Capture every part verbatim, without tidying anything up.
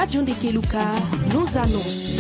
Radio Ndekeluka, nos annonces.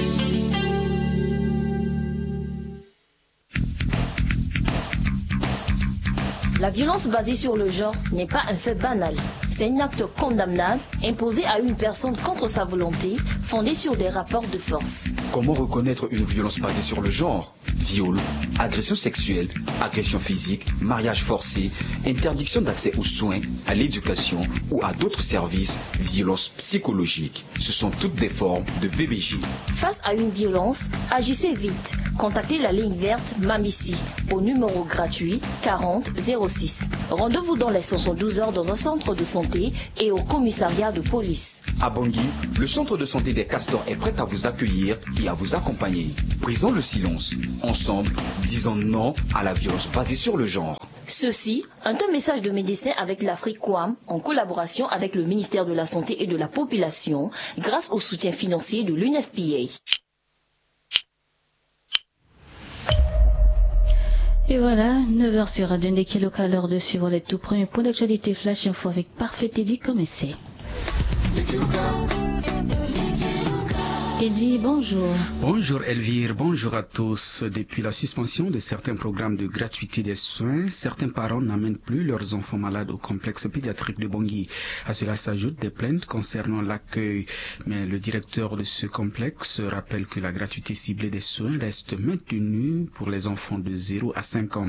La violence basée sur le genre n'est pas un fait banal. C'est un acte condamnable imposé à une personne contre sa volonté, fondé sur des rapports de force. Comment reconnaître une violence basée sur le genre ? Viol, agression sexuelle, agression physique, mariage forcé, interdiction d'accès aux soins, à l'éducation ou à d'autres services, violence psychologique. Ce sont toutes des formes de V B G. Face à une violence, agissez vite. Contactez la ligne verte Mamisi au numéro gratuit quarante zéro six. Rendez-vous dans les soixante-douze heures dans un centre de santé et au commissariat de police. À Bangui, le centre de santé des Castors est prêt à vous accueillir et à vous accompagner. Brisons le silence. Ensemble, disons non à la violence basée sur le genre. Ceci, un message de Médecins avec l'Afrique Quam, en collaboration avec le ministère de la Santé et de la Population, grâce au soutien financier de l'U N F P A. Et voilà, neuf heures sur Radio Ndekeloka, l'heure de suivre les tout premiers points d'actualité Flash Info avec Parfait Teddy comme essai. Teddy, bonjour. Bonjour Elvire, bonjour à tous. Depuis la suspension de certains programmes de gratuité des soins, certains parents n'amènent plus leurs enfants malades au complexe pédiatrique de Bangui. À cela s'ajoutent des plaintes concernant l'accueil. Mais le directeur de ce complexe rappelle que la gratuité ciblée des soins reste maintenue pour les enfants de zéro à cinq ans.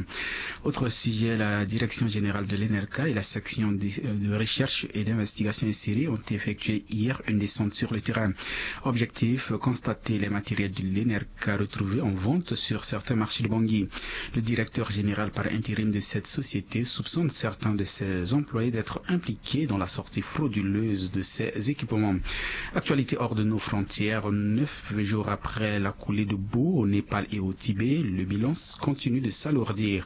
Autre sujet, la direction générale de l'ENERCA et la section de, de recherche et d'investigation et série ont effectué hier une descente sur le terrain. Objectif, constater les matériels de l'ENERCA retrouvés en vente sur certains marchés de Bangui. Le directeur général par intérim de cette société soupçonne certains de ses employés d'être impliqués dans la sortie frauduleuse de ces équipements. Actualité hors de nos frontières, neuf jours après la coulée de boue au Népal et au Tibet, le bilan continue de s'alourdir.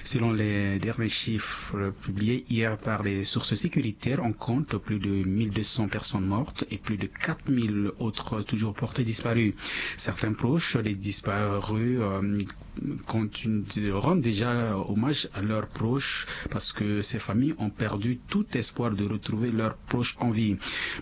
Selon les derniers chiffres publiés hier par les sources sécuritaires, on compte plus de mille deux cents personnes mortes et plus de quatre mille autres toujours portées disparues. Certains proches des disparus, euh, continuent de rendre déjà hommage à leurs proches parce que ces familles ont perdu tout espoir de retrouver leurs proches en vie.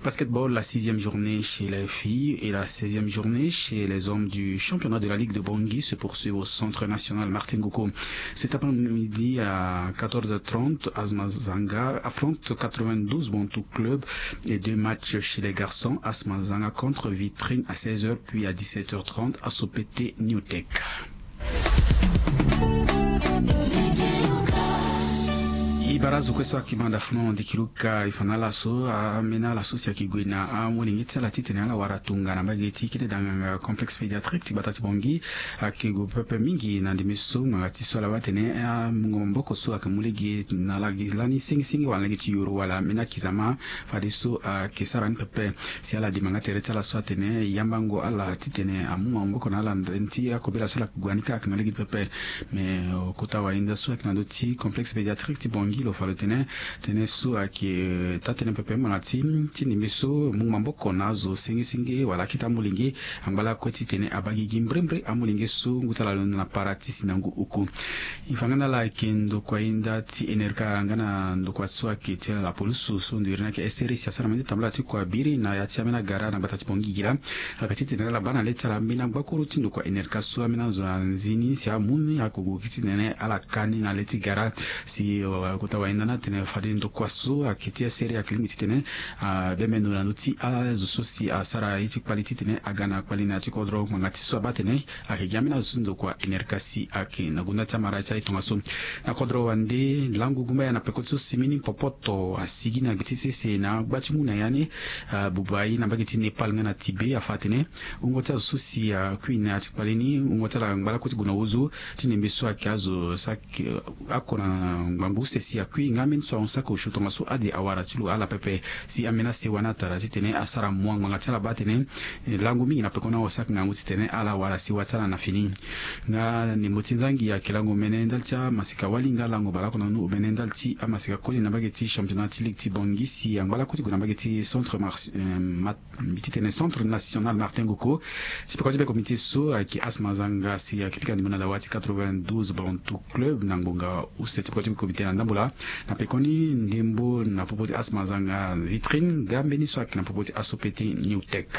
Basketball, la sixième journée chez les filles et la seizième journée chez les hommes du championnat de la Ligue de Bangui se poursuivent au centre national Martin Ngoko. Cet après-midi à quatorze heures trente, Asmazanga affronte quatre-vingt-douze Bantou Club et deux matchs chez les garçons, Asmazanga contre Vitrine à seize heures, puis à dix-sept heures trente, Asopete New Tech. E bara azo kue so ayeke manda funu Ndekeloka, e fa na ala so ambeni ala so si ayeke gue na amolenge ti ala titene ala wara tongana mbage ti kete danganga complexe pédiatrique ti gbata ti Bangui. Ayeke gue pepe mingi na ndembe so ngbanga ti so ala baa atene amungo maboko so ayeke mu lege na ala gi lani sengisenge wala na lege ti yoro wala ambeni akizama. Fadeso ayeke sara ni pepe. Si ala dema nga tere ti ala so atene e yambango ala titene amu maboko na ala na ndani ti akobela so ala yeke gue na ni kâ ayeke na lege ti pepe. Me, euh, kota wahinda so ayeke na ndö ti complexe pédiatrique ti Bangui lo fa lo tene tënë so ayeke, euh, taa-tënë pepe ngbanga ti ti ndembe so mu maboko na azo sengisenge wala akete amolenge. Angba lakue titene abaa gigi mbrembre amolenge so ngu ti ala lo na para ti si na ngu oku. E fa nga na ala ayeke ndokua hinda ti ENERCA nga na ndokua so ayeke ti ala la police so ndo iri ni ayeke S R I si asara mbeni tambula ti kua biri na ya ti ambeni agara na gbata ti Bangui gi laa. Ayeke titene ala baa na le ti ala ambeni agbakuru ti ndokua ENERCA so ambeni azo anzi ni si amu ni akogo gi titene ala ka ni na le ti gara. Si, euh, kota wahinda ni atene fade ndokua so ayeke ti S R I ayeke lingbi titene, ah, abembe ndo na ndö ti azo so si asara ye ti kpali titene aga na kpali na ya ti kodro ngbanga ti so abaa atene ayeke gi ambeni azo so ndokua ENERCA si ayeke na gonda ti amara ti aye tongaso. Na kodro wande langu gumbaya na peko ti so si mbeni popoto asigi na gbe ti sese na agba ti mu na ya ni, ah, buba ye na mbage ti Népal nga na Tibet afa atene wungo ti azo so si akui na ya ti kpale ni wungo ti ala angba lakue ti gue na ozo ti ndembe so ayeke azo so ayeke, eh, oko na ngbangbu use si akui nga ambeni so ahon saki osio tongaso ade awara ti lo ala pepe. Si ambeni asewa ni atara titene asara mua ngbanga ti ala baa atene, eh, langu mingi na pekoni ahon saki ngangu titene ala wara sewa ti ala na fini. Nga ndembo ti nzangi ayeke lango omene ndali ti amaseka wali nga lango baleoko na nu omene ndali ti amaseka koli na mbage ti championnat ti ligue ti Bangui si angba lakue ti gue na mbage ti centre Mar-, eh, Mat- mbi ti tene Centre National Martin Ngoko. Si peko ti be comité so ayeke Asma Zanga si ayeke pika ndembo na dawa ti quatre-vingt-douze Bantu Club na ngbonga use ti peko ti be comité na ndambo laa. Na pekoni ndembo na popo ti asmazanga vitrine ga mbeni so ayeke na popo ti aso pete new tech.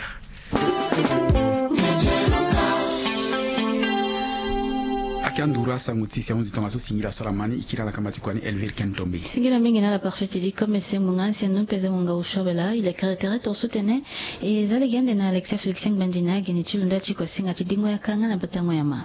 Ake anduru asango ti si ahunzi tongaso singila so ala mani ikila na kama ti kuani elvire ken tombe. Singila mingi na ala parfait ti di comme ese munga si anu mpe eze munga ushobela ile kere tere to sutene. Eza lege ande na alexia félixien gbandina geni ti lo nda ti kosinga ti dingo yaka nga na batango ya ma.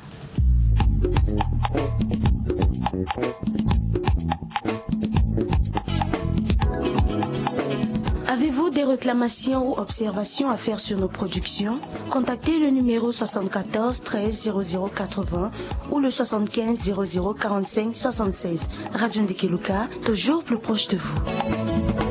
Avez-vous des réclamations ou observations à faire sur nos productions? Contactez le numéro soixante-quatorze treize zéro zéro quatre-vingts ou le soixante-quinze zéro zéro quarante-cinq soixante-seize. Radio Ndekeluka, toujours plus proche de vous.